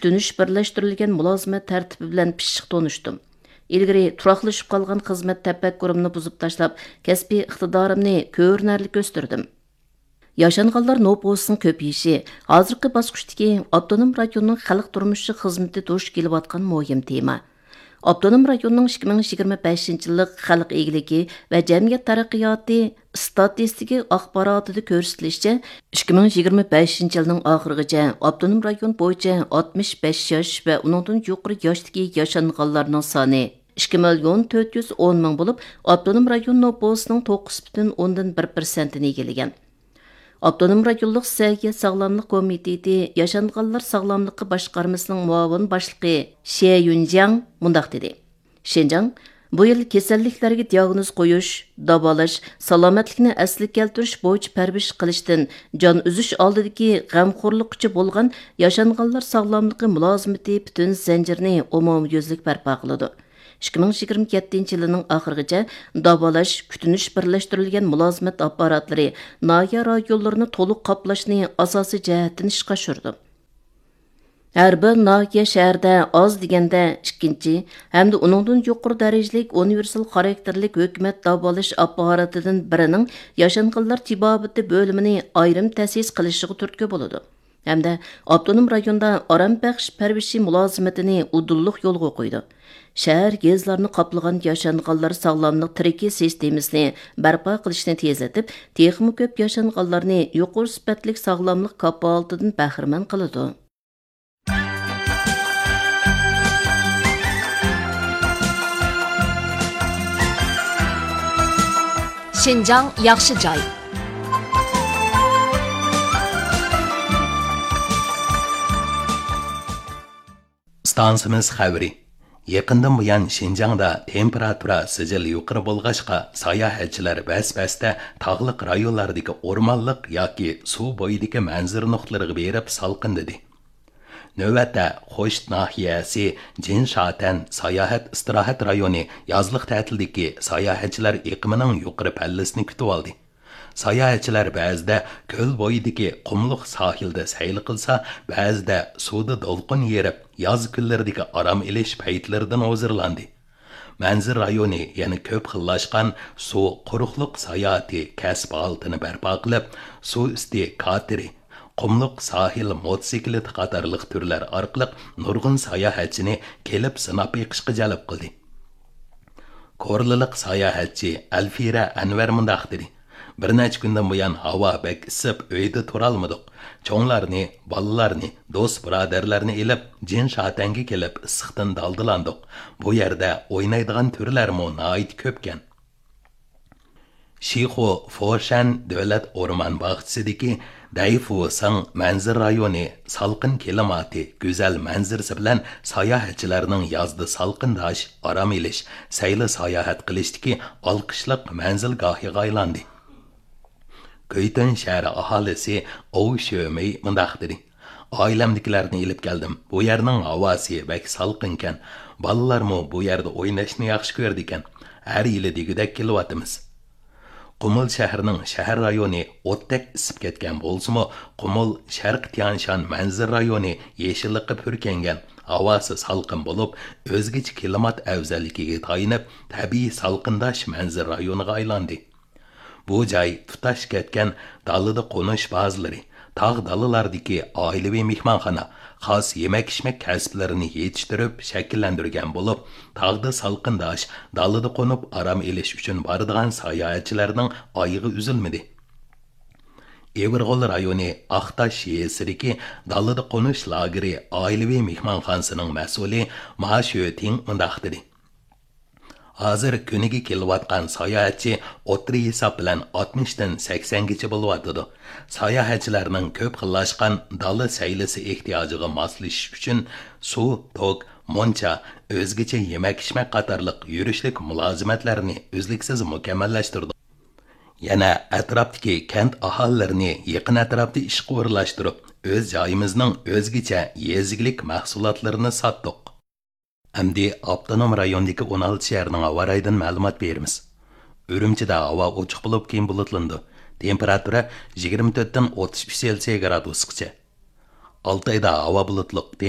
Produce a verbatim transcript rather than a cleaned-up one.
كۈتۈنۈش بىرلەشتۈرۈلگەن مۇلازىمەت تەرتىپى بىلەن پىششىق تونۇشتۇم. ئىلگىرى تۇراقلىشىپ قالغان خىزمەت تەپەككۇرۇمنى بۇزۇپ تاشلاپ، كەسپىي ئىقتىدارىمنى كۆرۈنەرلىك ئۆستۈردۈم. ياشانغانلار نوپۇسىنىڭ كۆپىيىشى ھازىرقى باسقۇچتىكى ئاپتونوم رايوننىڭ خەلق تۇرمۇشى خىزمىتى دۇچ كېلىۋاتقان مۇھىم تېما. ئاپتونوم رايوننىڭ ئىككى مىڭ يىگىرمە بەشىنچى يىللىق خەلق ئىگىلىكى ۋە جەمئىيەت تەرەققىياتى ئىستاتىستىكا ئاخباراتىدا كۆرسىتىلىشىچە، ئىككى مىڭ يىگىرمە بەشىنچى يىلنىڭ ئاخىرىغىچە ئاپتونوم رايون بويىچە ئاتمىش بەش ياش ۋە ئۇنىڭدىن يۇقىرى ياشتىكى ياشانغانلارنىڭ سانى ئىككى مىليون تۆت يۈز ئون مىڭ بولۇپ، ئاپتونوم رايون نوپۇسىنىڭ توققۇز پۈتۈن ئوندىن بىر پىرسەنتىنى ئىگىلىگەن. ئاپتونوم رايونلۇق سەھىيە ساغلاملىق كومىتېتى ياشانغانلار ساغلاملىقى باشقارمىسىنىڭ مۇئاۋىن باشلىقى شيە يۈنجياڭ مۇنداق دېدى: شىنجاڭ بۇ يىل كېسەللىكلەرگە دىياگنوز قويۇش، داۋالاش، سالامەتلىكنى ئەسلىگە كەلتۈرۈش بويىچە پەرۋىش قىلىشتىن جان ئۈزۈش ئالدىدىكى غەمخورلۇققىچە بولغان ياشانغانلار ساغلاملىقى مۇلازىمىتى پۈتۈن زەنجىرىنى ئومۇميۈزلۈك بەرپا قىلىدۇ. ئىككى مىڭ يىگىرمە يەتتىنچى يىلىنىڭ ئاخىرىغىچە داۋالاش، كۈتۈنۈش بىرلەشتۈرۈلگەن مۇلازىمەت ئاپپاراتلىرى ناھىيە رايونلىرىنى تولۇق قاپلاشنى ئاساسىي جەھەتتىن ئىشقا ئاشۇرىدۇ. ھەر بىر ناھىيە شەھەردە ئاز دېگەندە ئىككىنچى ھەمدە ئۇنىڭدىن يۇقىرى دەرىجىلىك ئۇنىۋېرسال خاراكتېرلىك ھۆكۈمەت داۋالاش ئاپپاراتىدىن بىرىنىڭ ياشانغانلار تېبابىتى بۆلۈمىنى ئايرىم تەسىس قىلىشىغا تۈرتكە بولىدۇ. ھەمدە ئاپتونوم رايوندا ئارام بەخش پەرۋىشى مۇلازىمىتىنى ئۇدۇللۇق يولغا قويىدۇ. شەھەر، يېزىلارنى قاپلىغان ياشانغانلار ساغلاملىق تىرىكى سىستېمىسىنى بەرپا قىلىشنى تېزلىتىپ، تېخىمۇ كۆپ ياشانغانلارنى يۇقىرى سۈپەتلىك ساغلاملىق كاپالىتىدىن بەھرىمەن قىلىدۇ. شىنجاڭ ياخشى جاي. ئىستانسىمىز خەۋىرى. يېقىندىن بۇيان شىنجاڭدا تېمپېراتۇرا سىجىل يۇقىرى بولغاچقا، ساياھەتچىلەر بەس-بەستە تاغلىق رايونلاردىكى ئورمانلىق ياكى سۇ بويىدىكى مەنزىرە نۇقتىلىرىغا بېرىپ سالقىندىدى. نۆۋەتتە خوشۇت ناھىيەسى جىنشاتەن ساياھەت ئىستىراھەت رايونى يازلىق تەتىلدىكى ساياھەتچىلەر ئېقىمىنىڭ يۇقىرى پەللىسىنى كۈتۈۋالدى. ساياھەتچىلەر بەزىدە كۆل بويىدىكى قۇملۇق ساھىلدا سەيلە قىلسا، بەزىدە سۇدا دولقۇن يېرىپ، ياز كۈنلىرىدىكى ئارام ئېلىش پەيتلىرىدىن ھۇزۇرلاندى. مەنزىرە رايونى يەنە كۆپ خىللاشقان سۇ قۇرۇقلۇق ساياھىتى كەسىپ ھالىتىنى بەرپا قىلىپ، سۇ ئۈستى كاتېرى، قۇملۇق ساھىل موتوسىكلىتى قاتارلىق تۈرلەر ئارقىلىق نۇرغۇن ساياھەتچىنى كېلىپ سىناپ بېقىشقا جەلپ قىلدى. كورلىلىق ساياھەتچى ئەلفىرە ئەنۋەر مۇنداق دېدى: بىر نەچچە كۈندىن بۇيان ھاۋا بەك ئىسسىپ، ئۆيدە تۇرالمىدۇق. چوڭلارنى، بالىلارنى، دوست-بۇرادەرلەرنى ئېلىپ، جىنشاتەنگە كېلىپ ئىسسىقتىن دالدىلاندۇق. بۇ يەردە ئوينايدىغان تۈرلەرمۇ ناھايىتى كۆپكەن. شىخۇ فوشەن دۆلەت ئورمان باغچىسىدىكى دەيفۇسىڭ مەنزىرە رايونى سالقىن كىلىماتى، گۈزەل مەنزىرىسى بىلەن ساياھەتچىلەرنىڭ يازدا سالقىنداش، ئارام ئېلىش، سەيلە ساياھەت قىلىشتىكى ئالقىشلىق مەنزىلگاھىغا ئايلاندى. كۈيتۈن شەھىرى ئاھالىسى ئوۋ شۆمېي مۇنداق دېدى: ئائىلەمدىكىلەرنى ئېلىپ كەلدىم. بۇ يەرنىڭ ھاۋاسى بەك سالقىنكەن. بالىلارمۇ بۇ يەردە ئويناشنى ياخشى كۆرىدىكەن. ھەر يىلى دېگۈدەك كېلىۋاتىمىز. قۇمۇل شەھىرىنىڭ شەھەر رايونى ئوتتەك ئىسسىپ كەتكەن بولسىمۇ، قۇمۇل شەرقىي تيانشان مەنزىرە رايونى يېشىللىققا پۈركەنگەن، ھاۋاسى سالقىن بولۇپ، ئۆزگىچە كىلىمات ئەۋزەللىكىگە تايىنىپ، تەبىئىي سالقىنداش مەنزىرە رايونىغا ئايلاندى. بۇ جاي تۇتاش كەتكەن دالىدا قونۇش بازىلىرى، تاغ دالىلاردىكى ئائىلىۋى مېھمانخانا، خاس يېمەك-ئىچمەك كەسىپلىرىنى يېتىشتۈرۈپ شەكىللەندۈرگەن بولۇپ، تاغدا سالقىنداش، دالىدا قونۇپ ئارام ئېلىش ئۈچۈن بارىدىغان ساياھەتچىلەرنىڭ ئايىغى ئۈزۈلمىدى. ئېۋىرغول رايونى ئاقتاش يېزىسىدىكى دالىدا قونۇش لاگېرى ئائىلىۋى مېھمانخانىسىنىڭ مەسئۇلى ما شۆتىڭ مۇنداق دېدى: ھازىر كۈنىگە كېلىۋاتقان ساياھەتچى ئوتتۇرا ھېساب بىلەن ئاتمىشتىن سەكسەنگىچە بولۇۋاتىدۇ. ساياھەتچىلەرنىڭ كۆپ خىللاشقان دالا سەيلىسى ئېھتىياجىغا ماسلىشىش ئۈچۈن سۇ، توك، مۇنچا، ئۆزگىچە يېمەك-ئىچمەك قاتارلىق يۈرۈشلۈك مۇلازىمەتلەرنى ئۈزلۈكسىز مۇكەممەللەشتۈردۇق. يەنە ئەتراپتىكى كەنت ئاھالىلىرىنى يېقىن ئەتراپتا ئىشقا ئورۇنلاشتۇرۇپ، ئۆز جايىمىزنىڭ ئۆزگىچە يېزا ئىگىلىك مەھسۇلاتلىرىنى ساتتۇق. ئەمدى ئاپتونوم رايوندىكى ئون ئالتە شەھەرنىڭ ھاۋا رايىدىن مەلۇمات بېرىمىز. ئۈرۈمچىدە ھاۋا ئوچۇق بولۇپ، كېيىن بۇلۇتلىنىدۇ. تېمپېراتۇرا يىگىرمە تۆتتىن ئوتتۇز ئۈچ سېلسىيە گرادۇسقىچە. ئالتايدا ھاۋا بۇلۇتلۇق.